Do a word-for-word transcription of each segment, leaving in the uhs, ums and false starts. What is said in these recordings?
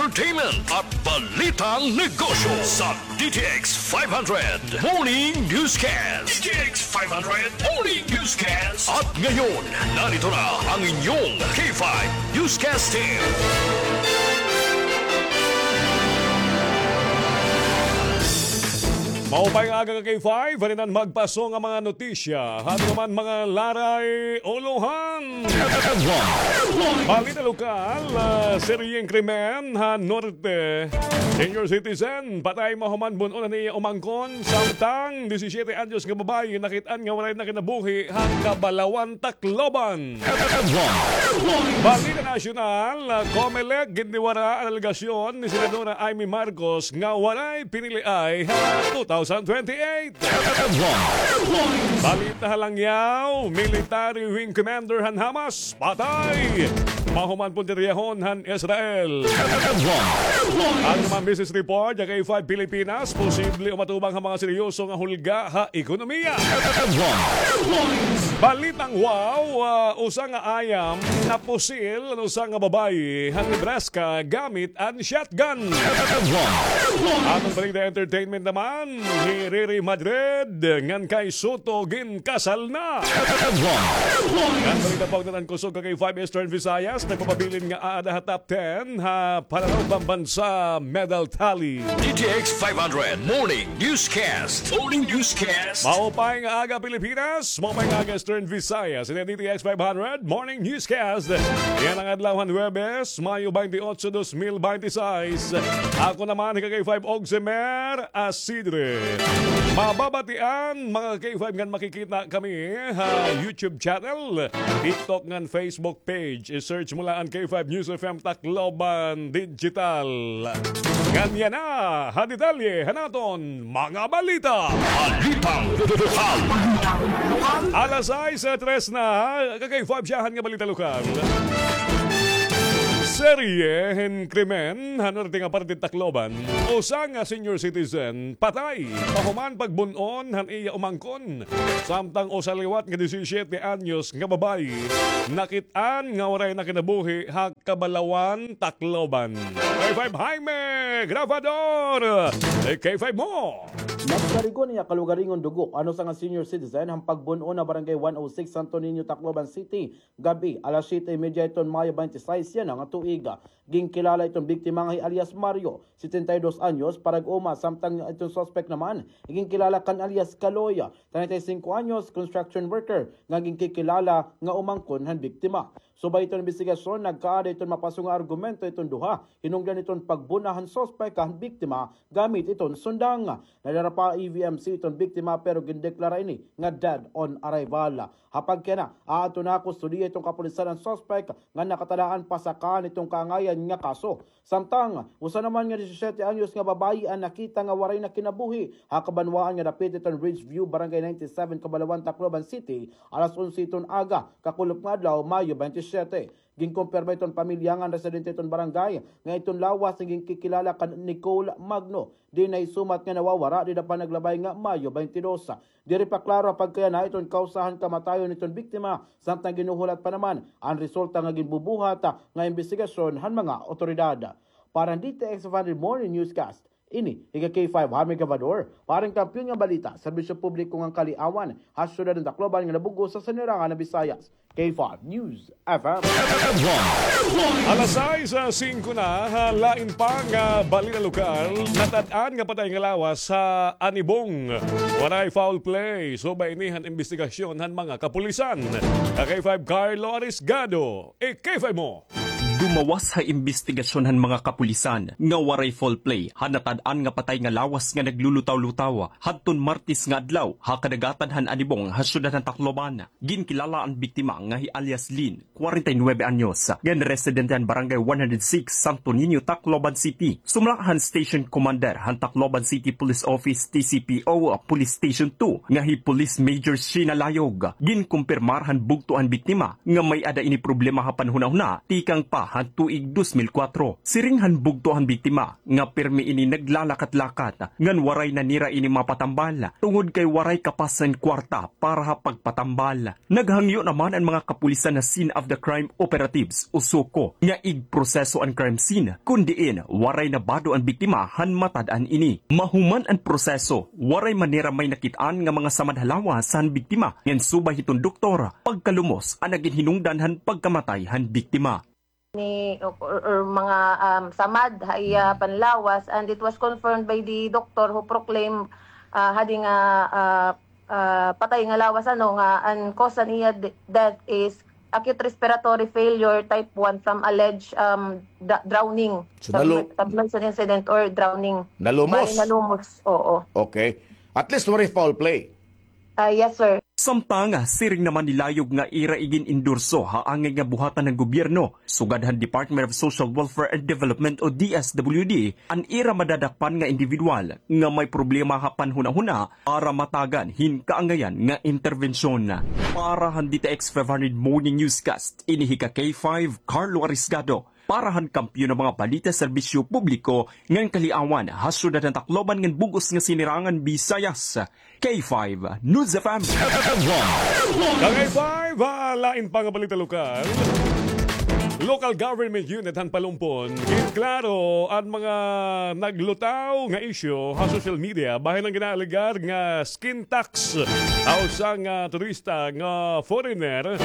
Entertainment at Balitang Negosyo sa D T X five hundred Morning Newscast. D T X five hundred Morning Newscast. At ngayon, narito na ang inyong K five Newscast Team. Maupay nga aga ka K five, halinan magpaso nga mga notisya. Ato naman mga laray ulohan. Balita lokal, ah, seryeng krimen ha Norte. Senior citizen, patay mahuman bun-on an iya umangkon, samtang disisiete anyos nga babaye nakit-an nga waray na kinabuhi ha Kabalawan, Tacloban. Balita nasyonal, ah, Comelec gindiwara an alegasyon ni Senadora Imee Marcos nga waray piniliay ha two thousand twenty-eight. Balita ha langyaw, military wing commander han Hamas patay mahuman puntiryahon han Israel. Ato naman business report ha K five Pilipinas, posible umatubang ha mga seryoso nga hulga ha ekonomiya. Balitang wow, ah, usa nga ayam napusil an usa nga babaye han Nebraska gamit an shotgun. Aton balita entertainment naman, hi Riri Madrid ngan kay Soto ginkasal na. Ngan balita pa ugnayan han kusog ha K five Eastern Visayas, nagpapabilin nga aada ha top ten ha Pananaw Pambansa medal tally. D T X five hundred Morning Newscast. Morning Newscast. Maupay nga aga, Pilipinas. Maupay nga aga, Eastern Visayas. Ini an D T X five hundred Morning Newscast. Yana nga adlaw han Huwebes, Mayo twenty-eight, dos mil binte y seis. Ako naman, hi ka K five Ogsemer Asidre. Mababatian, mga K five, ngan makikita kami ha YouTube channel, TikTok, ngan Facebook page. I-search mo la an K five News F M Tacloban Digital. Ngan yana ha detalye han aton mga balita. Balitang lokal. Alas sais, ah, tres na, ka K five, siyahan nga balita lokal. Serye hin krimen ha norte nga parte han Tacloban. Usa nga senior citizen patay pahuman pagbun-on han iya umangkon. Samtang usa liwat nga disisiete anyos nga babaye nakit-an nga waray na kinabuhi ha Kabalawan, Tacloban. K five Jaime Grabador, eh, K five mo. Nagsarigon an iya kalugaringon dugo an usa nga senior citizen han pagbun-on ha Barangay one oh six, Santo Niño, Tacloban City, gab-i, alas siyete y media hiton Mayo twenty-six yana nga tuig. Ginkilala iton biktima nga hi alias Mario, setenta y dos anyos, parag-uma, samtang iton suspek naman ginkilala kan alias Kaloy, treinta y cinco anyos, construction worker, nga ginkikilala nga umangkon han biktima. Subay iton imbestigasyon, nagkaada iton mapaso nga argumento iton duha, hinungdan iton pagbun-a han suspek han biktima gamit iton sundang. Nadara pa E V M C iton biktima, pero gindeklara ini nga dead on arrival. Ha pagkayana, aadto na ha kustodiya iton kapulisan an suspek nga nakatalaan pasakaan iton kaangayan nga kaso. Samtang, usa naman nga disisiete anyos nga babaye an nakita nga waray na kinabuhi ha kabanwaan nga dapit iton Ridge View, Barangay ninety-seven, Kabalawan, Tacloban City, alas onse iton aga, kakulop nga adlaw, Mayo twenty-seven. Ginkumpirma iton pamilya ngan residente iton barangay nga iton lawas nga ginkikilala kan Nicole Magno, diin nahisumat nga nawawara dida pa naglabay nga Mayo twenty-two. Diri pa klaro ha pagkayana iton kawsa han kamatayon niton biktima, samtang ginhuhulat pa naman an resulta nga ginbubuhat nga imbestigasyon han mga awtoridad. Para han D T X five hundred Morning Newscast, ini hi ka K five Jaime Grabador, para han Kampiyon nga Balita, Serbisyo Publiko ngan Kaliawan, ha siyudad han Tacloban nga nabug-os ha Sinirangan han Visayas. K five News F M. Alas sais, ah, singko na, ha, lain pa nga balita lokal, natad-an nga patay nga lawas ha Anibong. Waray foul play, subay ini han imbestigasyon han mga kapulisan. Ka K five Carlo Arisgado, i-K five mo. Dumawas ha imbestigasyon han mga kapulisan nga waray foul play ha natad-an nga patay nga lawas nga naglulutaw-lutaw hadton Martes nga adlaw ha kadagatan han Anibong ha siyudad han Tacloban. Ginkilala an biktima nga hi alias Lin, kwarenta y nuebe anyos, ngan residente han Barangay one hundred six, Santo Niño, Tacloban City. Sumala han Station Commander han Tacloban City Police Office, T C P O, Police Station two, nga hi Police Major Sheena Layog, ginkumpirmar han bugto an biktima nga may-ada ini problema ha panhunahuna tikang pa an tuig dos mil kuwatro. Siring han bugto han biktima nga pirmi ini naglalakat-lakat ngan waray na nira ini mapatambal tungod kay waray kapas han kwarta para ha pagpatambal. Naghangyo naman an mga kapulisan na Scene of the Crime Operatives o SOCO nga igproseso an crime scene, kun diin waray nabado an biktima han matad-an ini. Mahuman an proseso, waray man nira may nakit-an nga mga samad ha lawas han biktima, ngan subay hiton doktor, pagkalumos an nagin hinungdan han pagkamatay han biktima. Ni, or, or mga, um, samad ha iya panlawas, and it was confirmed by the doctor who proclaimed, ah, hadi nga, ah, ah, patay nga lawas, ano, nga an cause han iya de-, death is acute respiratory failure type one from alleged, um, dra-, drowning. So, nalu- Submer-, submersion incident or drowning. Nalumos? Bali, nalumos, oo. Okay. At least waray foul play. Ah, yes, sir. Samtang, siring naman ni Layog nga ira igin-endorso ha angay nga buhatan han gobyerno, sugad han Department of Social Welfare and Development o D S W D, an ira madadakpan nga indibidwal nga may problema ha panhunahuna para matagan hin kaangayan nga interbensyon. Para han D T X five hundred Morning Newscast, ini hi ka K five, Carlo Arisgado. Para han Kampiyon nga mga Balita, Serbisyo Publiko, ngan Kaliawan, ha syudad han Tacloban ngan bug-os nga Sinirangan Visayas. K five News F M. Ka K five, ah, lain pa nga balita lokal. Local government unit han Palompon, ginklaro an mga naglutaw nga isyu ha social media bahin han ginaalegar nga skin tax ha usa nga turista nga foreigner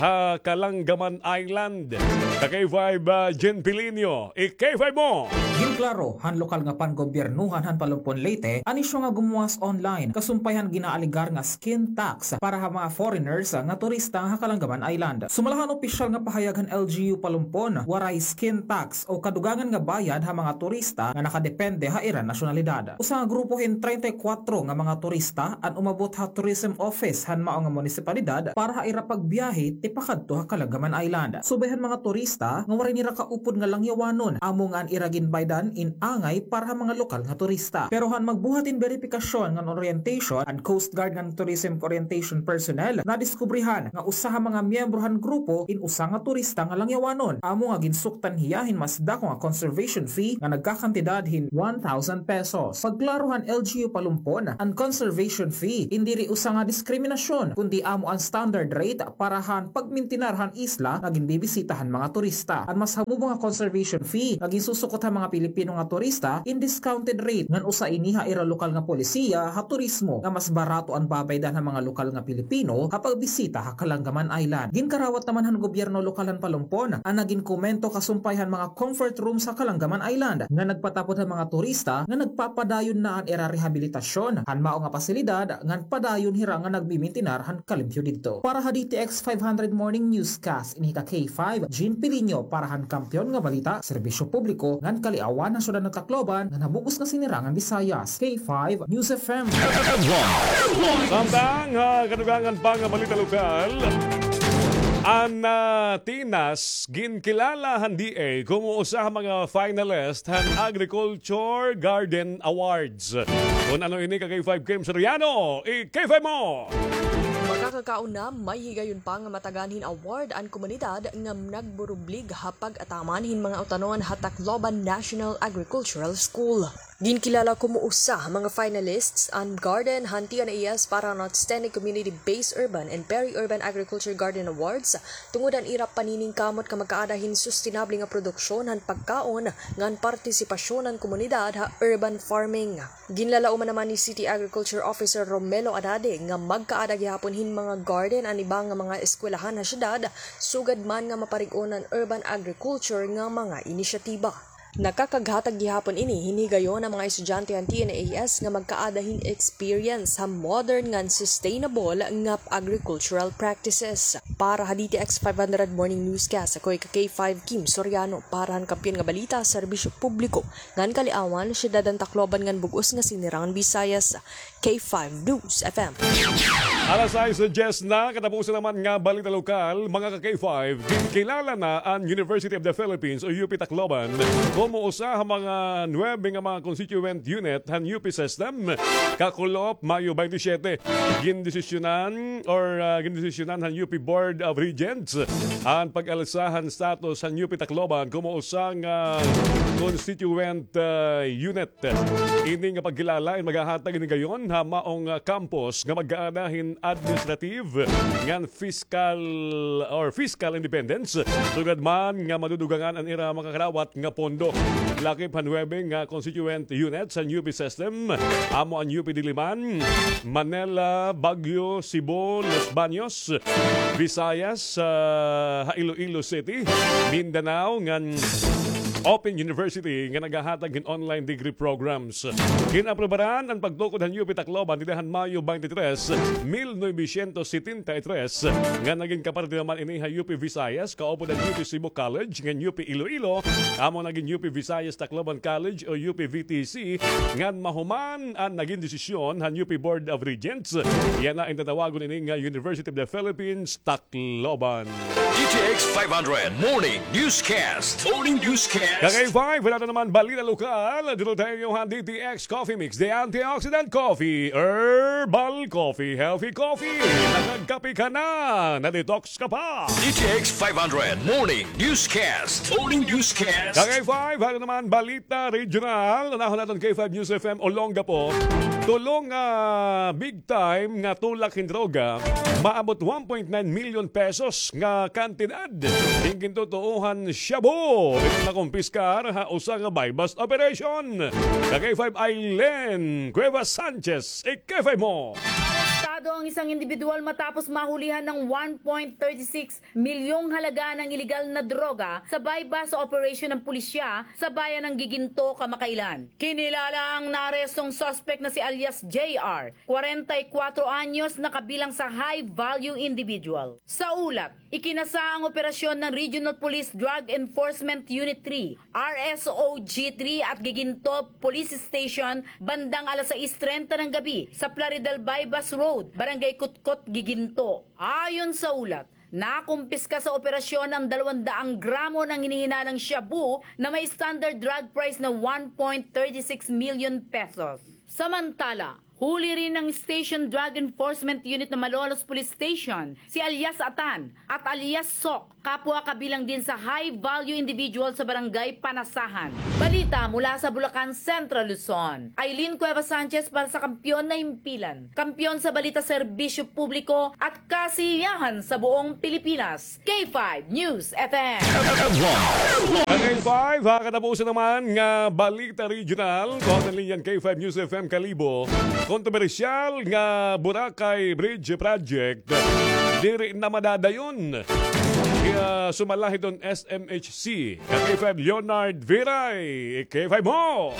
ha Kalanggaman Island. Ka K five, ah, Jen Pilinio, i-K five mo! Ginklaro han lokal nga pangobyernohan han Palompon, Leyte, an isyu nga gumuwas online, kasumpay han ginaalegar nga skin tax para ha mga foreigners nga turista ha Kalanggaman Island. Sumala han opisyal nga pahayag han L G U Palompon, waray skin tax o kadugangan nga bayad ha mga turista nga nakadepende ha ira nasyonalidad. Usa nga grupo hin treinta y cuatro nga mga turista an umabot ha tourism office han mao nga munisipalidad para ha ira pagbiyahe tipakadto ha Kalanggaman Island. Subay han mga turista nga waray nira kaupod nga langyawanon, amo nga an ira ginbaydan in angay para ha mga lokal nga turista. Pero han magbuhat hin beripikasyon ngan orientation an Coast Guard ngan Tourism Orientation Personnel, nadiskubrihan nga usa ha mga miyembro han grupo in usa nga turista nga langyawanon. Amo nga ginsuktan hiya hin mas dako nga conservation fee nga nagkakantidad hin one thousand pesos. Pagklaro han L G U Palompon, an conservation fee in diri usa nga diskriminasyon, kundi amo an standard rate para han pagmintinar han isla nga ginbibisita han mga turista. An mas hamubo nga conservation fee nga ginsusukot han mga Pilipino nga turista in discounted rate, ngan usa ini ha ira lokal nga polisiya ha turismo nga mas barato an babaydan han mga lokal nga Pilipino ha pagbisita ha Kalanggaman Island. Ginkarawat naman han gobyerno lokal han Palompon an nagin komento kasumpay han mga comfort rooms ha Kalanggaman Island nga nagpatapod han mga turista nga nagpapadayon na an ira rehabilitasyon han mao nga pasilidad ngan padayon hira nga nagmimintinar han kalimpyo didto. Para ha D T X five hundred Morning Newscast, ini hi ka K five, Jean Pilinio, para han Kampiyon nga Balita, Serbisyo Publiko, ngan Kaliawan, ha syudad han Tacloban, ngan ha bug-os nga Sinirangan Visayas, K five News F M. Samtang ha kadugangan pa nga balita lokal, an, ah, Tinas ginkilala han D A komo usa ha mga finalist han Agriculture Garden Awards. Kun ano ini, ka K five Kim Soriano, i-K five mo! Makakakaon na, may higayon pa nga matagan hin award an komunidad nga nagburublig ha pag-ataman hin mga utanon ha Tacloban National Agricultural School. Ginkilala komo usa ha mga finalists an garden han T N A S para han Outstanding Community-Based Urban and Peri-Urban Agriculture Garden Awards tungod han ira paniningkamot nga magkaada hin sustenable nga produksyon han pagkaon ngan partisipasyon han komunidad ha urban farming. Ginlalauman naman ni City Agriculture Officer Romelo Anade nga magkaada gihapon hin mga garden an iba nga mga eskwelahan ha syudad, sugad man nga maparig-on an urban agriculture nga mga inisyatiba. Nakakaghatag gihapon ini hin higayon an mga estudyante han T N A S nga magkaada hin experience ha modern ngan sustainable nga agricultural practices. Para ha D T X five hundred Morning Newscast, ako hi ka K five Kim Soriano para han Kampiyon nga Balita, Serbisyo Publiko, ngan Kaliawan, Syudad han Tacloban ngan bug-os nga Sinirangan Visayas, K five News F M. Alas sais diyes na, katapusan naman nga balita lokal, mga ka K five, ginkilala na an University of the Philippines o U P Tacloban Komo usa ha mga nuebe nga mga constituent unit han U P system, kakulop Mayo twenty-seven, gindesisyonan or, ah, gindesisyonan han U P Board of Regents an pag-alsa han status han U P Tacloban komo usa nga constituent, ah, unit. Ini nga pagkilala in maghahatag ini gayon ha maong, ah, campus nga mag-aada hin administrative ngan fiscal or fiscal independence, sugad man nga madudugangan an ira makakarawat nga pondo. Lakip han nuebe nga constituent units han U P system, amo an U P Diliman, Manila, Baguio, Cebu, Los Baños, Visayas, ah, ha Iloilo City, Mindanao, ngan Open University nga naghahatag hin online degree programs. Gin-aprobaran an pagtukod han U P Tacloban dida han Mayo twenty-three, mil novecientos setenta y tres, nga nagin kaparte naman ini ha U P Visayas, kaupod an U P Cebu College, ngan U P Iloilo, amo nagin U P Visayas Tacloban College o U P V T C, ngan mahuman an nagin desisyon han U P Board of Regents. Yana in tatawagon ini nga University of the Philippines, Tacloban. D T X five hundred Morning Newscast. Morning Newscast. Ka K five, wala na naman balita lokal. Dito tayo han D T X Coffee Mix, the antioxidant coffee, herbal coffee, healthy coffee. Nakagkape ka na, na-detox ka pa. D T X five hundred Morning Newscast. Morning Newscast. Ka K five, ano naman balita regional? Unahon naton K five News F M Olongapo. Tulo nga big time nga tulak hin droga, maabot one point nine million pesos nga kantidad. Gintutuohan shabu, nakumpiskar ha usa nga buy-bust operation. Ka K five Aileen Cuevas Sanchez, i-K five mo. Arestado ang isang individual matapos mahulihan ng one point thirty six milyong halaga ng iligal na droga sa buy-bust operation ng pulisya sa bayan ng Giginto kamakailan. Kinilala ang naarestong suspect na si alias J R, kwarenta y kwatro anyos, na kabilang sa high-value individual. Sa ulat, ikinasa ang operasyon ng Regional Police Drug Enforcement Unit three, R S O G three at Giginto Police Station bandang alas sais trenta ng gabi sa Plaridel Buy-bust Road, Barangay Kutkot, Giginto. Ayon sa ulat, nakumpiska sa operasyon ang dalawang daang gramo ng hinihinalang shabu na may standard drug price na one point thirty six million pesos. Samantala, huli rin ng Station Drug Enforcement Unit ng Malolos Police Station si alias Atan at alias Sok, kapwa kabilang din sa high-value individual sa Barangay Panasahan. Balita mula sa Bulacan, Central Luzon. Aileen Cuevas Sanchez para sa Kampiyon na Himpilan. Kampiyon sa balita, serbisyo publiko at kasiyahan sa buong Pilipinas. K five News F M. Ka K five, ha katapusan naman nga balita regional, kuha an linya an K five News F M Kalibo. Kontrobersyal nga Boracay Bridge Project, diri na madadayon. Kaya sumala hiton S M H C. Ka K five Leonard Viray, K five mo.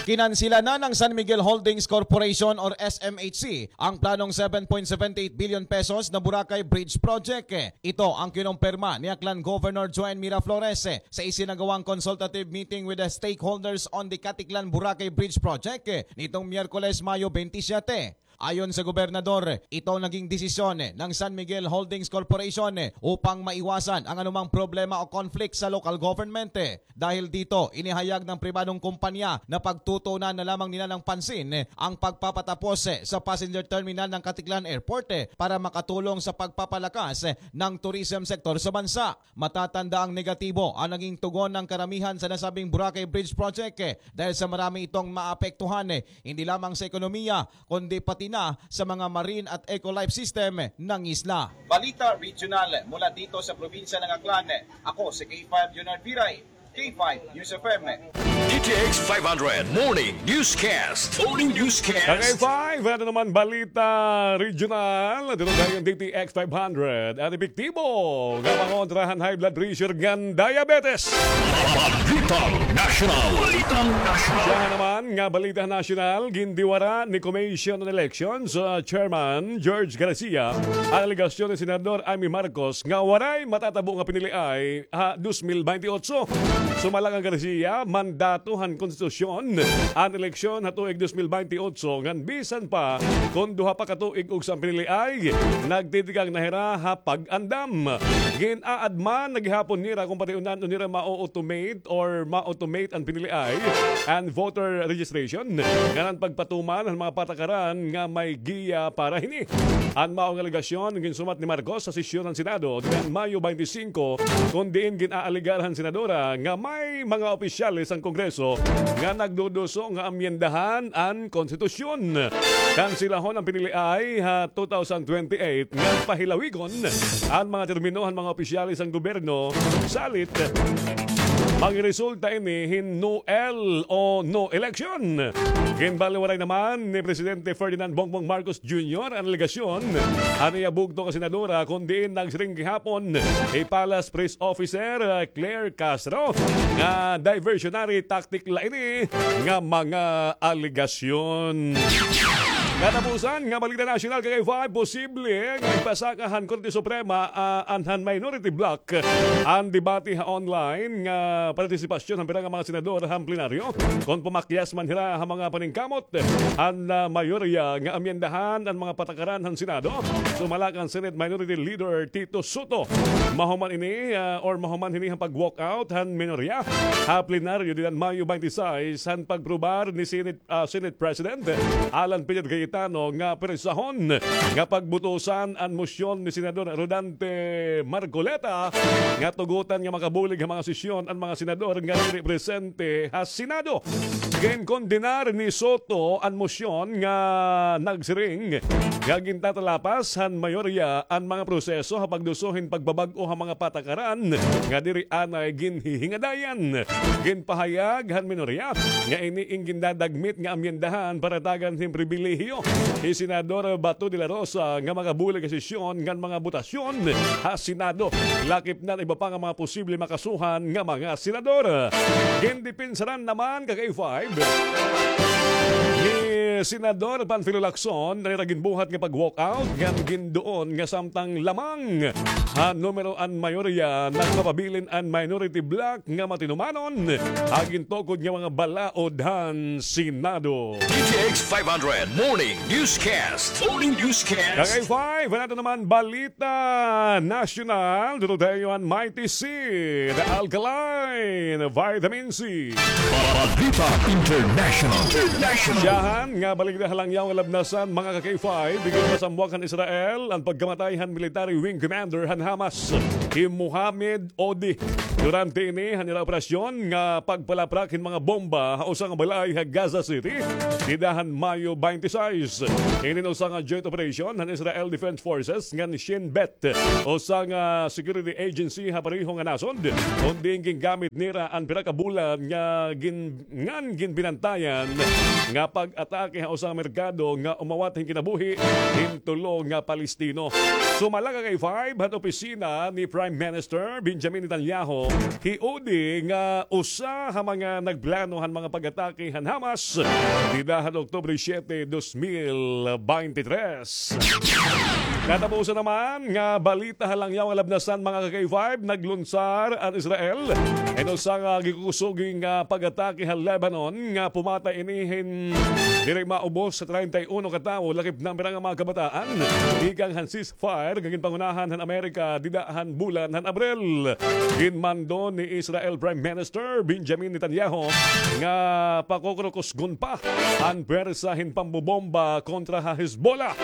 Kinansila na ng San Miguel Holdings Corporation or S M H C ang planong seven point seven eight billion pesos na Boracay Bridge Project. Ito ang kinumpirma ni Aklan Governor Joan Miraflores sa isinagawang consultative meeting with the stakeholders on the Caticlan Boracay Bridge Project nitong Miyerkules, Mayo twenty-seven. Ayon sa gobernador, ito naging desisyon ng San Miguel Holdings Corporation upang maiwasan ang anumang problema o conflict sa local government. Dahil dito, inihayag ng pribadong kumpanya na pagtutuunan na lamang nila ng pansin ang pagpapatapos sa passenger terminal ng Caticlan Airport para makatulong sa pagpapalakas ng tourism sector sa bansa. Matatanda ang negatibo ang naging tugon ng karamihan sa nasabing Boracay Bridge Project dahil sa marami itong maapektuhan, hindi lamang sa ekonomiya, kundi pati na sa mga marine at eco-life system ng isla. Balita regional mula dito sa probinsya ng Aklan. Ako si K five Leonard Viray, K five News F M. D T X five hundred Morning Newscast. Morning Newscast. Ka K five, ano naman balita regional? Dito tayo ang D T X five hundred. An epektibo nga pangontra han high blood pressure ngan diabetes. Balitang National. Siya naman nga balita nasyonal, gindiwara ni Commission on Elections, ah, Chairman George Garcia an alegasyon ni Senador Imee Marcos nga waray matatabo nga piniliay ha dos mil baynte otso. Sumala kan Garcia, mandato han konstitusyon an eleksyon ha tuig dos mil baynte otso, ngan bisan pa kon duha pa ka tuig ugsa an piniliay, nagtitikang na hira ha pag-andam. Gin-aadman na gihapon nira kon pareho na nira ma-automate or ma-automate an piniliay and voter registration, ngan an pagpatuman han mga patakaran nga may giya para hini. An mao nga alegasyon ginsumat ni Marcos sa sesyon han Senado nikan Mayo baynte singko, kon diin gin-aalegar han senadora nga may mga opisyales han Kongreso nga nagduduso nga amyendahan an konstitusyon. Kansilahon an piniliay ha two thousand twenty-eight ngan pahilawigon an mga termino han mga opisyales han gobyerno. Salit, magresulta ini hin no L o no election. Ginbaliwaray naman ni Presidente Ferdinand Bongbong Marcos Junior an alegasyon han iya bugto nga senadora, kon diin nagsiring gihapon hi Palace Press Officer, uh, Claire Castro nga diversionary tactic la ini nga mga alegasyon. Katapusan nga balita nasyonal, ka K five, posible nga ipasaka han Korte Suprema, ah, an han minority bloc an debate ha online nga partisipasyon han pira nga mga senador han plenaryo kon pamakyas man hira ha mga paningkamot han, ah, mayorya nga amyendahan an mga patakaran han Senado. Sumala kan Senate Minority Leader Tito Sotto, mahuman ini, ah, or mahuman hini han pag-walkout han minorya ha plenaryo dida han Mayo baynte sais han pagprobar ni Senate, ah, Senate President Alan Peter Cayetano nga presahon nga pagbutusan an mosyon ni Senador Rodante Marcoleta nga tugotan nga makabulig ha mga sesyon an mga senador nga diri presente ha Senado. Ginkondenar ni Sotto an mosyon nga nagsiring nga gintatalapas han mayorya an mga proseso ha pagduso hin pagbabag-o ha mga patakaran nga diri anay ginhihingadayan. Ginpahayag han minorya nga ini in gindadagmit nga amyendahan para tagan hin pribilehiyo hi Senador Bato de la Rosa nga makabulig ha sesyon ngan mga botasyon ha Senado, lakip na an iba pa nga mga posible makasuhan nga mga senador. Gindepensara naman, ka K five, ni Senador Panfilo Lacson an ira ginbuhat nga pag-walkout ngan ginduon nga samtang lamang ha numero an mayorya, nagpapabilin an minority bloc nga matinumanon ha gintukod nga mga balaod han Senado. D T X five hundred Morning Newscast. Morning Newscast. Ka K five, an aton naman balita nasyonal, duro dayon an Mighty Seed Alkaline Vitamin C. Balita International. International. Siyahan nga balita ha langyaw nga labnasan, mga ka K five, bigyan masamwak han Israel an pagkamatay han military wing commander han Hamas, hi Mohammed Odi, durante ini han ira operasyon nga pagpalaprak hin mga bomba ha usa nga balay ha Gaza City, dida han Mayo baynte sais. Inin usa nga joint operation han Israel Defense Forces ngan Shin Bet, usa nga security agency ha pareho nga nasod, kon diin gingamit nira an pira ka bulan nga gin-, ngan ginbinantayan nga pag-atake ha usa nga merkado nga umawat hin kinabuhi hin tulo nga Palestino. Sumala, ka K five, han opisina ni Prime Minister Benjamin Netanyahu, hi Odi nga usa ha mga nagplano han mga pag-atake han Hamas dida han Oktubre siyete, dos mil baynte tres. Katapusan naman nga balita ha langyaw nga labnasan, mga ka K five, naglunsar an Israel hin usa nga gikukusugi nga pag-atake ha Lebanon nga pumatay ini hin diri maubos sa treinta y uno ka tawo, lakip na an pira nga mga kabataan, tikang han ceasefire nga ginpangunahan han Amerika dida han bulan han Abril. Ginmando ni Israel Prime Minister Benjamin Netanyahu nga pakukurukusgon pa an pwersa hin pambobomba kontra ha Hezbollah.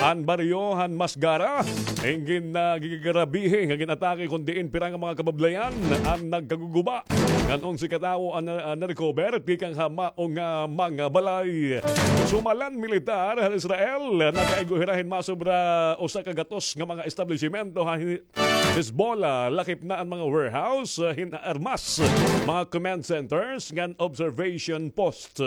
An baryo han Masgara in gin-, ah, gigigrabehi nga gin-atake, kon diin pira nga mga kabablayan an nagkaguguba. Ngan onse ka tawo an, ah, na-recover tikang ha mao nga mga balay. Sumala an militar han Israel, nakaigo hira hin masobra usa ka gatos nga mga establisimento ha hi-, Hezbollah, lakip na an mga warehouse, ah, hin armas, mga command centers, ngan observation post.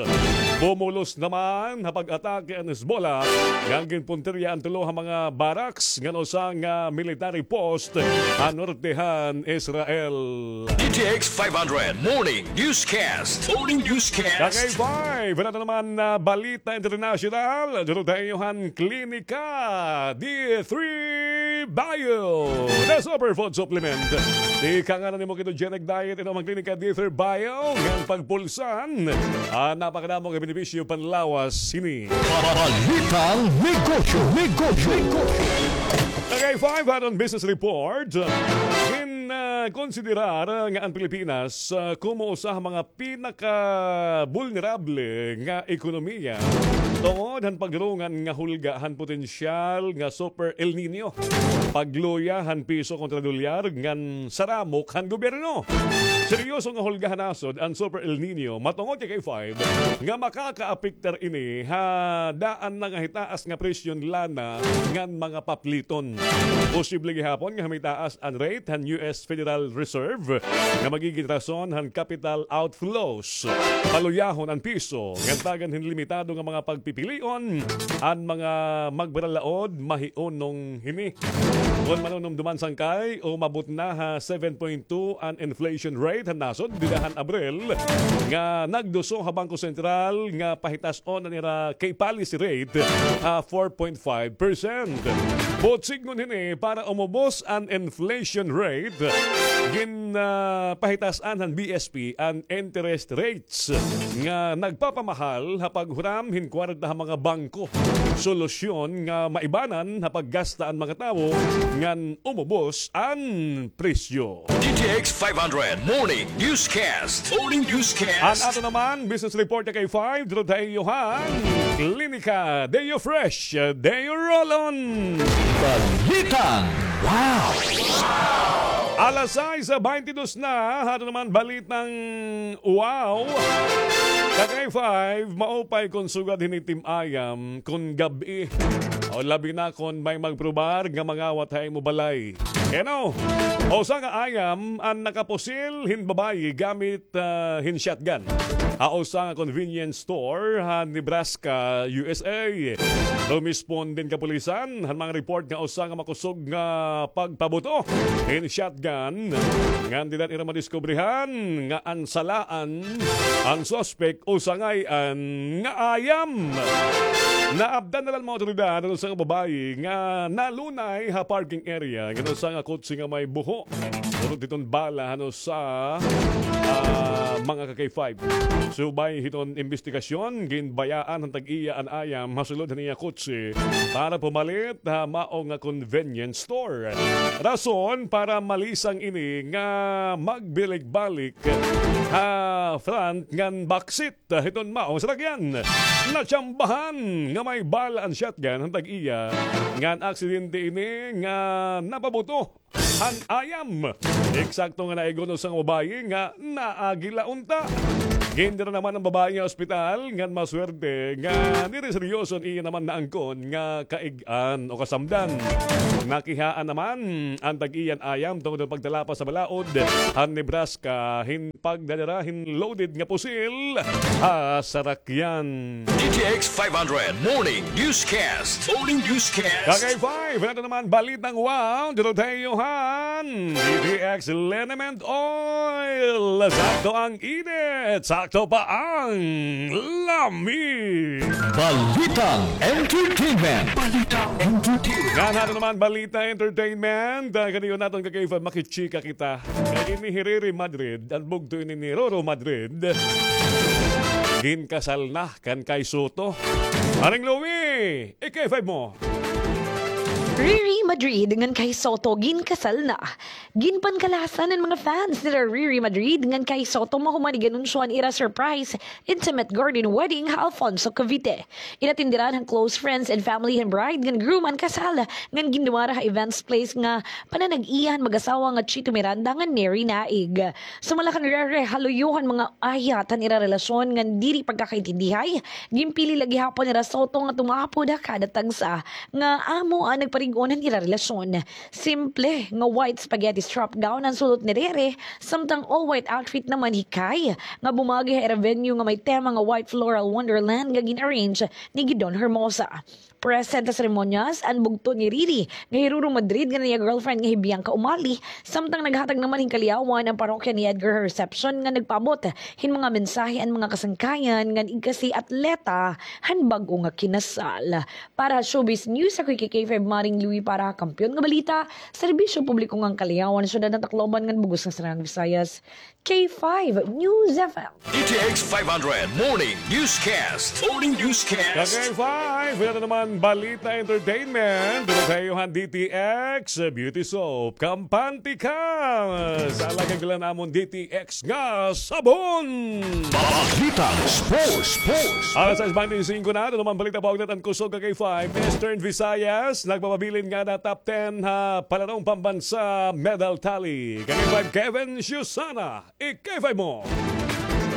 Bumulos naman ha pag-atake an Hezbollah, ngan ginpuntirya an tulo ha mga barracks, ngan usa nga military post ha norte han Israel. D T X five hundred Morning Newscast. Morning Newscast. Kagay five, wala na naman na balita international. Duro tayo han Klinika D three Bio. The Superfood Supplement. Di ka nga na nimo ketogenic diet, inom an Klinika D three Bio. Ngan pagpulsan, ah, napakadamo nga benepisyo panlawas hini. Balitang negosyo, negosyo, negosyo. Kagay five, aton business report. Gin, ah, konsiderar nga an Pilipinas, ah, komo usa ha mga pinakabulnerable nga ekonomiya tungod han pagdurungan nga hulga han potensyal nga Super El Niño, pagluya han piso kontra dolyar, ngan saramok han gobyerno. Seryoso nga hulga ha nasod an Super El Niño, matungod kay K five, nga makakaapektar ini ha daan na nga hitaas nga presyo han lana ngan mga papliton. Posible gihapon nga humitaas an rate han U S Federal Reserve nga magigin rason han capital outflows. Paluyahon an piso, ngan tagan hin limitado nga mga pagpipilion an mga magbaralaod mahiunong hini. Kon manunumduman sangkay, umabot na ha seven point two an inflation rate han nasod dida han Abril, nga nagduso ha Bangko Sentral nga pahitas-on an ira kay policy rate ha four point five percent. Buot sidngon hini, para umubos an inflation rate, gin, ah, pahitas-an han B S P an interest rates nga nagpapamahal ha paghuram hin kwarta ha mga bangko. Solusyon nga maibanan ha paggasta an mga tawo ngan umubos an presyo. D T X five hundred Morning Newscast. Morning Newscast. An ato naman business report nga kay five, duro tayo han Klinika Deo Fresh, Deo Rolon. Balitang wow. Alas sais baynte dos na, ato naman balitang wow. Kagay five, maupay kon sugad hini tim ayam kon gab-i. O labi na kon may magprobar nga mangawat ha imo balay. Keno, usa nga ayam an nakapusil hin babayi gamit, ah, hin shotgun ha usa nga convenience store ha Nebraska, U S A. Rumisponde an kapulisan han mga report nga usa nga makusog nga pagpabuto hin shotgan, ngan dida ira madiskubrihan nga an salaan, an suspek usa ngay-an nga ayam. Naabtan na la han mga awtoridad an usa nga babayi nga nalunay ha parking area ngan usa nga kotse nga may buho. Surot hiton bala han usa, ah, mga ka-K five. Subay hiton imbestigasyon, ginbayaan han tag-iya an ayam ha sulod han iya kotse para pumalit ha mao nga convenience store. Rason para malisang ini nga magbalik-balik ha front ngan backseat hiton maong sarakyan. Natsambahan nga may bala an shotgun han tag-iya, ngan aksidente ini nga napabuto han ayam. Eksakto nga naigo an usa nga babayi nga naagi la unta. Gindara naman an babayi ha ospital, ngan maswerte nga diri seryoso an iya naman naangkon nga kaig-an o kasamdan. Nakihaan naman an tag-iya an ayam tungod han pagtalapas ha balaod han Nebraska hin pagdadara hin loaded nga pusil ha sarakyan. D T X five hundred Morning Newscast. Morning Newscast. Kagay five, ato naman balitang wow, duro tayo han D T X Liniment Oil. Sakto ang init, sakto pa ang lami. Balitang entertainment. Balitang entertainment. Ngan ato naman balita entertainment. Ah, kaniyo naton ka-K five, makichika kita. Kay ini hi Riri Madrid, an bugto ini ni Roro Madrid, ginkasal na kan Kai Soto. Aring Louie, i-K five mo. Riri Madrid ngan Kai Soto ginkasal na. Ginpankalasan an mga fans nira Riri Madrid ngan Kai Soto mahuman iginunsyo an ira surprise intimate garden wedding ha Alfonso, Cavite. Inatenderan han close friends and family han bride ngan groom an kasal, ngan gindumara ha events place nga pananag-iya han mag-asawa nga Chito Miranda ngan Neri Naig. Sumala kan Riri, ha luyo han mga ayat han ira relasyon ngan diri pagkakaintindihay, ginpili la gihapon nira Soto nga tumapod ha kada tagsa nga amo an nagparig-on han ira relasyon. Simple nga white spaghetti strap gown an sulot ni Rere, samtang all-white outfit naman hi Kai, nga bumagi ha ira venue nga may tema nga White Floral Wonderland nga gin-arrange ni Gidon Hermosa. Present ha seremonyas an bugto ni Riri nga hi Ruru Madrid ngan an iya girlfriend nga hi Bianca Umali, samtang naghatag naman hin kaliyawan an parokya ni Edgar ha reception nga nagpaabot hin mga mensahe an mga kasangkayan ngan igkasi atleta han bag-o nga kinasal. Para ha showbiz news, ako hi K five Maring Louie para ha Kampiyon nga Balita, Serbisyo Publiko ngan Kaliyawan, Syudad han Tacloban ngan Bug-os nga Sariang Visayas, K five News F M. D T X five hundred Morning Newscast. Morning Newscast. Ka-K five, ito naman balita entertainment. Duro tayo han D T X Beauty Soap. Kampante ka sa alagang dala namon D T X nga sabon. Balitang sports, sports. Alas sais bente singko na, ito naman balita pa, ugnayan an kusog ka-K five. Eastern Visayas, nagpapabilin ngada top ten ha palarong pambansa medal tally. Ka-K five Kevin Susana, i-K five mo.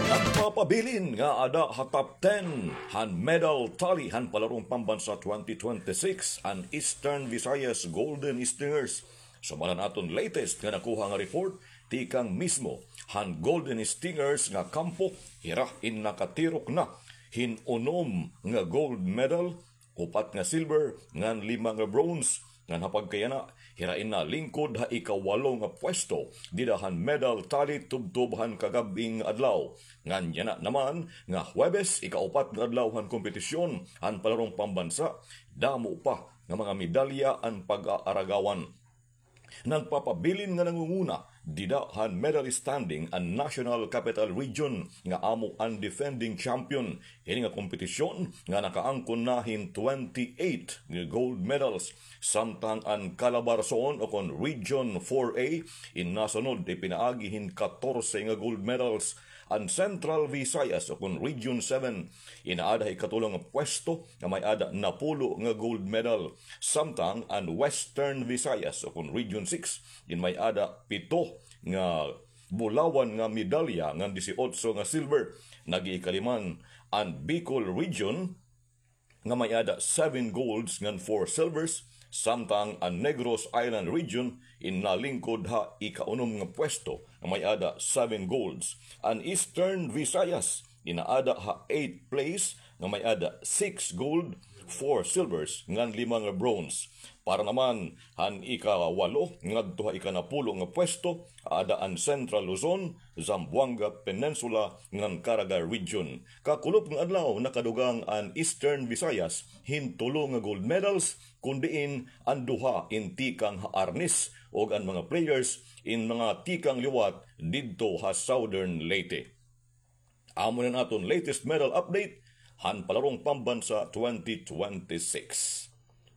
Nagpapabilin ngada ha top ten han medal tally han palarong pambansa twenty twenty-six an Eastern Visayas Golden Stingers. Sumala han aton latest nga nakuha nga report, tikang mismo han Golden Stingers nga kampo, hira in nakatirok na hin unom nga gold medal, upat nga silver, ngan lima nga bronze. Ngan ha pagkayana, hira in nalingkod ha ikawalo nga pwesto dida han medal tally tubtob han kagab-ing adlaw. Ngan yana naman nga Huwebes, ikaupat nga adlaw han kompetisyon han palarong pambansa, damo pa nga mga medalya an pag-aaragawan. Nagpapabilin nga nangunguna dida han medal standing an National Capital Region nga amo an defending champion hini nga kompetisyon nga nakaangkon na hin twenty-eight nga gold medals, samtang an Calabarzon o kon Region four A in nasunod ipinaagi hin katorse nga gold medals. An Central Visayas o kon Region seven in aada ha ikatulo nga pwesto nga may-ada napulo nga gold medal, samtang an Western Visayas o kon Region six in may-ada pito nga bulawan nga medalya ngan disiotso nga silver. Nag-iikalima an Bicol Region nga may-ada seven golds ngan four silvers, samtang an Negros Island Region in nalingkod ha ikaunom nga pwesto nga may-ada seven golds. An Eastern Visayas in aada ha eighth place nga may-ada six gold, four silvers ngan lima nga bronze. Para naman han ikawalo ngadto ha ikanapulo nga pwesto, aada an Central Luzon, Zamboanga Peninsula ngan Caraga Region. Kakulop nga adlaw, nakadugang an Eastern Visayas hin tulo nga gold medals, kon diin an duha in tikang ha Arnes ug an mga players in mga tikang liwat didto ha Southern Leyte. Amo na an aton latest medal update han palarong pambansa twenty twenty-six.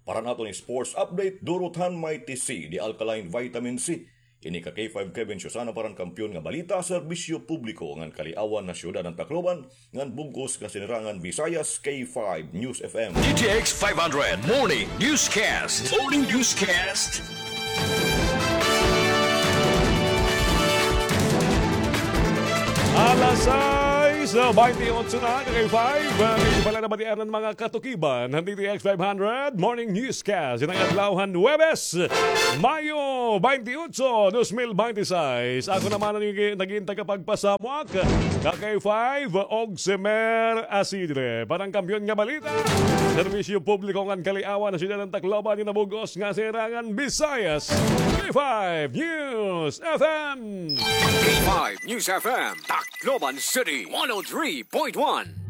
Para han aton sports update, durot han Mighty C, the alkaline vitamin C. Ini ka-K five Kevin Susana para han Kampiyon nga Balita, Serbisyo Publiko ngan Kaliawan ha Syudad han Tacloban, ngan bug-os nga Sinirangan Visayas, K five News F M. D T X five hundred Morning Newscast. Morning Newscast. Alas sais bente otso na, ka-K five. Ini pala nabatian an mga katukiban han D T X five hundred Morning Newscast. Yana nga adlaw han Huwebes, Mayo bente otso, dos mil bente sais. Ako naman an nag-, naging tagapagpasamak, ka-K five, Ogsimer Asidre. Para han Kampiyon nga Balita, Serbisyo Publiko ngan Kaliawan ha Syudad han Tacloban, ini bug-os nga Sinirangan Visayas, K five News F M. K five News F M, Tacloban City, one oh three point one.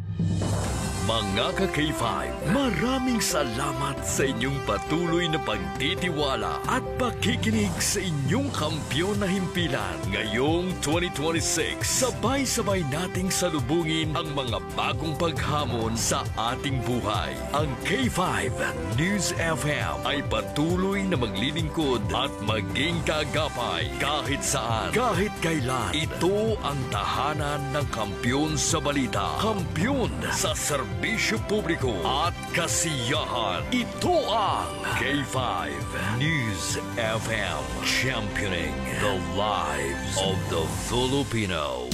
Mga ka-K five, maraming salamat sa inyong patuloy na pagtitiwala at pakikinig sa inyong kampiyon na himpilan. Ngayong twenty twenty-six, sabay-sabay nating salubungin ang mga bagong paghamon sa ating buhay. Ang K five News F M ay patuloy na maglilingkod at maging kaagapay kahit saan, kahit kailan. Ito ang tahanan ng kampiyon sa balita, kampiyon sa serbisyo publiko at kasiyahan. Ito ang K five News F M, championing the lives of the Filipino.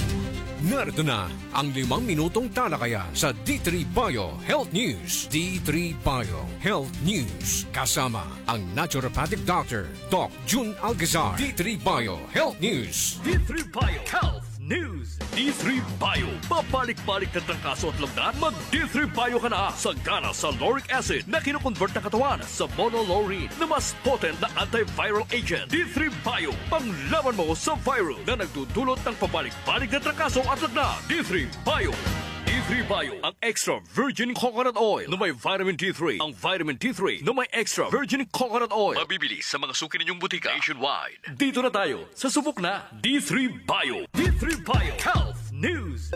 Narito na ang limang minutong talakayan sa D three Bio Health News. D three Bio Health News, kasama ang naturopathic doctor, Doc Jun Alcazar. D three Bio Health News. D three Bio Health News. D three Bio. Pabalik-balik na trangkaso at lagnat? Mag D three Bio ka na. Sagana sa lauric acid na kinokonvert ng katawan sa monolaurin na mas potent na antiviral agent. D three Bio. Panglaban mo sa virus na nagdudulot ng pabalik-balik na trangkaso at lagnat. D three Bio. D three Bio. Ang extra virgin coconut oil na may vitamin D three. Ang vitamin D three na may extra virgin coconut oil. Mabibili sa mga suki ninyong butika nationwide. Dito na tayo sa subok na D three Bio. D three Bio Health News.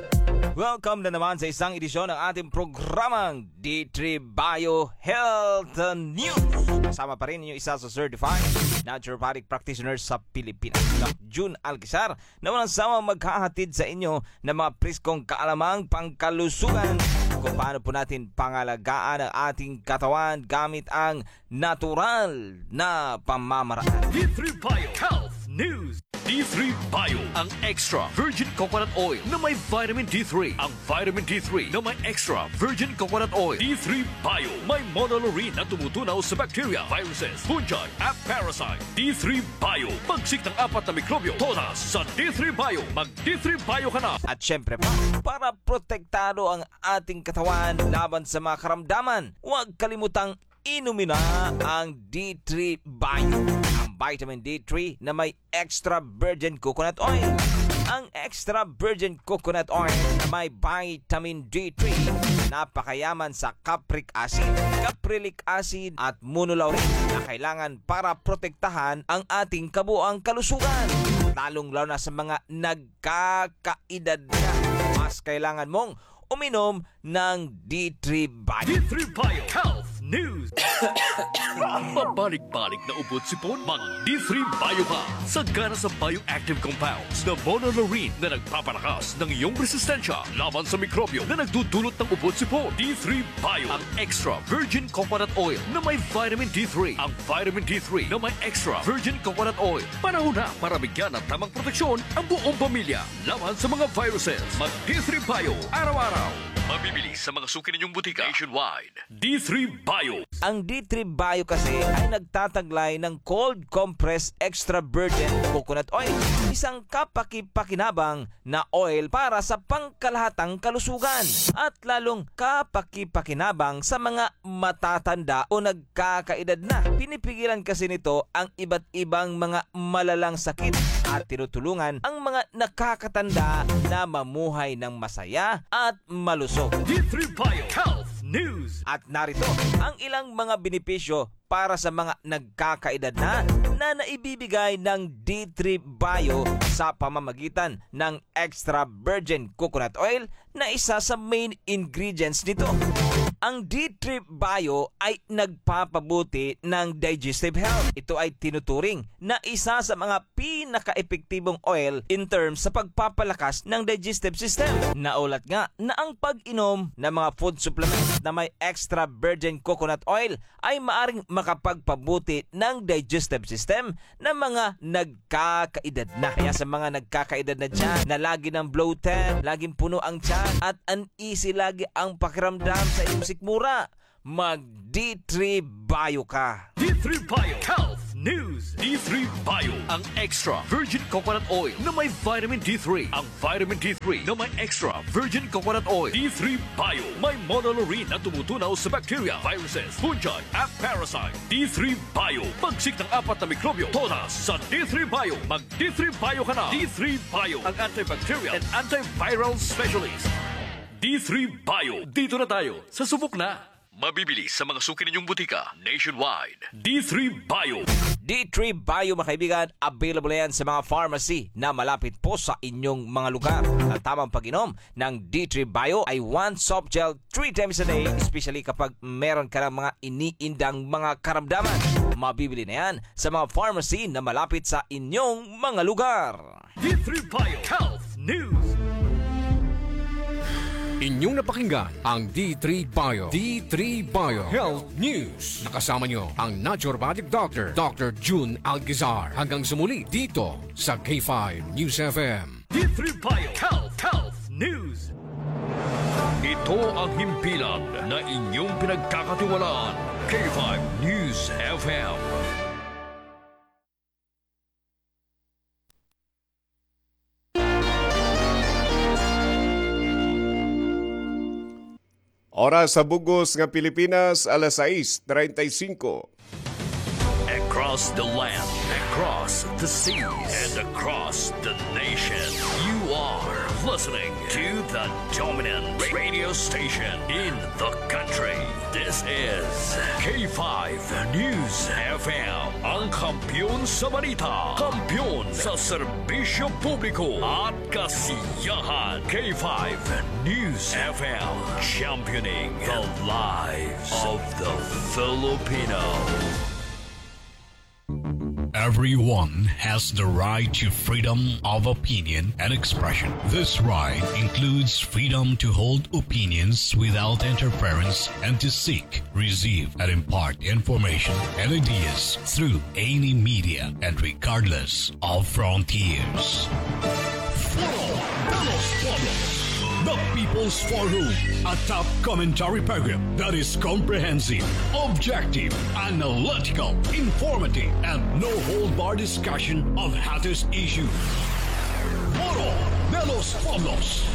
Welcome na naman sa isang edisyon ng ating programang D three Bio Health News. Kasama pa rin ninyo isa sa certified naturopathic practitioner sa Pilipinas, Doc Jun Alcazar, na walang sawang maghahatid sa inyo ng mga preskong kaalamang pangkalusugan kung paano po natin pangalagaan ang ating katawan gamit ang natural na pamamaraan. D three Bio Health News. D three Bio, ang extra virgin coconut oil na may vitamin D three. Ang vitamin D three na may extra virgin coconut oil. D three Bio, may monolaurin na tumutunaw sa bacteria, viruses, fungi, at parasite. D three Bio, pagsik ng apat na mikrobyo, todas sa D three Bio. Mag D three Bio ka na. At syempre pa, para protektado ang ating katawan laban sa mga karamdaman, huwag kalimutang inumin na ang D three Bio. Ang vitamin D three na may extra virgin coconut oil. Ang extra virgin coconut oil na may vitamin D three, napakayaman sa capric acid, caprylic acid at monolaurin na kailangan para protektahan ang ating kabuang kalusugan, lalong-lalo na sa mga nagkakaedad na. Mas kailangan mong uminom ng D three Bio. D three Bio Health News. Pabalik-balik na ubo at sipon? Mag D three Bio ka. Sagana sa bioactive compounds na monolaurin na nagpapalakas ng iyong resistensya laban sa mikrobyo na nagdudulot ng ubo at sipon. D three Bio, ang extra virgin coconut oil na may vitamin D three. Ang vitamin D three na may extra virgin coconut oil. Panahon na para bigyan ng tamang proteksyon ang buong pamilya laban sa mga viruses. Mag D three Bio araw-araw. Mabibili sa mga suki ninyong butika nationwide. D three Bio. Ang D three Bio kasi ay nagtataglay ng cold compressed extra virgin coconut oil, isang kapaki-pakinabang na oil para sa pangkalahatang kalusugan at lalong kapaki-pakinabang sa mga matatanda o nagkakaedad na. Pinipigilan kasi nito ang iba't ibang mga malalang sakit at tinutulungan ang mga nakakatanda na mamuhay ng masaya at malusog. D three Bio Health News. At narito ang ilang mga benepisyo para sa mga nagkakaedad na, na naibibigay ng D three Bio sa pamamagitan ng extra virgin coconut oil na isa sa main ingredients nito. Ang D three Bio ay nagpapabuti ng digestive health. Ito ay tinuturing na isa sa mga pinakaepektibong oil in terms sa pagpapalakas ng digestive system. Naulat nga na ang pag-inom ng mga food supplements na may extra virgin coconut oil ay maaring makapagpabuti ng digestive system ng mga nagkakaedad na. Kaya sa mga nagkakaedad na dyan na lagi ng bloated, laging puno ang tiyan, at uneasy lagi ang pakiramdam sa inyong sikmura, mag D three Bio ka. D three Bio Health News. D three Bio, ang extra virgin coconut oil na may vitamin D three. Ang vitamin D three na may extra virgin coconut oil. D three Bio, may monolaurin na tumutunaw sa bacteria, viruses, fungi, at parasite. D three Bio, pagsik ng apat na mikrobyo, todas sa D three Bio. Mag D three Bio ka na. D three Bio, ang antibacterial and antiviral specialist. D three Bio, dito na tayo sa subok na. Mabibili sa mga suki ninyong butika nationwide. D three Bio. D three Bio, mga kaibigan, available yan sa mga pharmacy na malapit po sa inyong mga lugar. Ang tamang pag-inom ng D three Bio ay one soft gel three times a day, especially kapag meron ka ng mga iniindang mga karamdaman. Mabibili na yan sa mga pharmacy na malapit sa inyong mga lugar. D three Bio Health News. Inyong napakinggan ang D three Bio. D three Bio Health News. Nakasama nyo ang naturopathic doctor, Doctor Jun Alcazar. Hanggang sa muli dito sa K five News F M. D three Bio Health, Health. News. Ito ang himpilan na inyong pinagkakatiwalaan, K five News F M. Oras sa bug-os nga Pilipinas, alas sais treinta y cinco. Across the land, across the seas, and across the nation, you are listening to the dominant radio station in the country. This is K five News F M, ang kampiyon sa balita, kampiyon sa serbisyo publiko at kasiyahan. K five News F M, championing the lives of the Filipino. Everyone has the right to freedom of opinion and expression. This right includes freedom to hold opinions without interference and to seek, receive, and impart information and ideas through any media and regardless of frontiers. Foro de los Pueblos, the People's Forum, a top commentary program that is comprehensive, objective, analytical, informative, and no-hold-bar discussion of hottest issues. Foro de los Pueblos.